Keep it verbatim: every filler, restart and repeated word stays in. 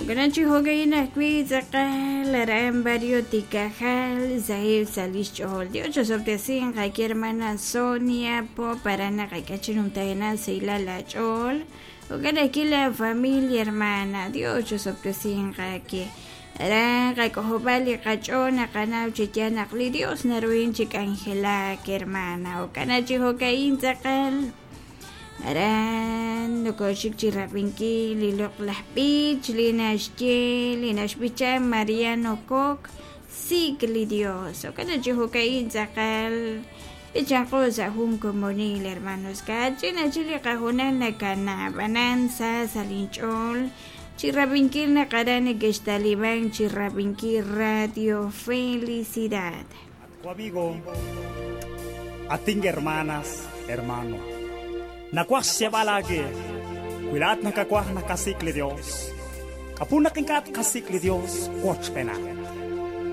Jo'kan chi jo'ka'in ajwi' tz'aqal aran barrio Tikajal saheb' sa' lix ch'ool. Dios chosob'tesinq aki hermana Sonia Pop aran naqak'e chi numtajenaq sahilal la ch'ool. Jo'kan ajwi' la familia hermana Dios chosob'tesinq aki. Aran qak'ojob'al li qach'ool naqanaw chi yaal naq li Dios naruhin chi k'anjelak hermana. Jo'kan chi jo'ka'in tz'aqal aran nokoxik chi rab'inkil li loq'laj b'ich li naxye li naxb'icha Mariano Coc sik li Dios. Jo'kan chi jo'ka'in tz'aqal b'ichanqo sa' jun komonil hermanos kach'in achi li qajunal nakana b'anan sa sa' linch'ool chi rab'inkil naq aran neke'xtaliban chi rab'inkil Radio Felicidad. Amigo, ating hermanas, hermano. Nakwah siya balagi. Kuilat nakakwah nakasikli Dios. Kapunak inkat kasikli Dios, koch pena.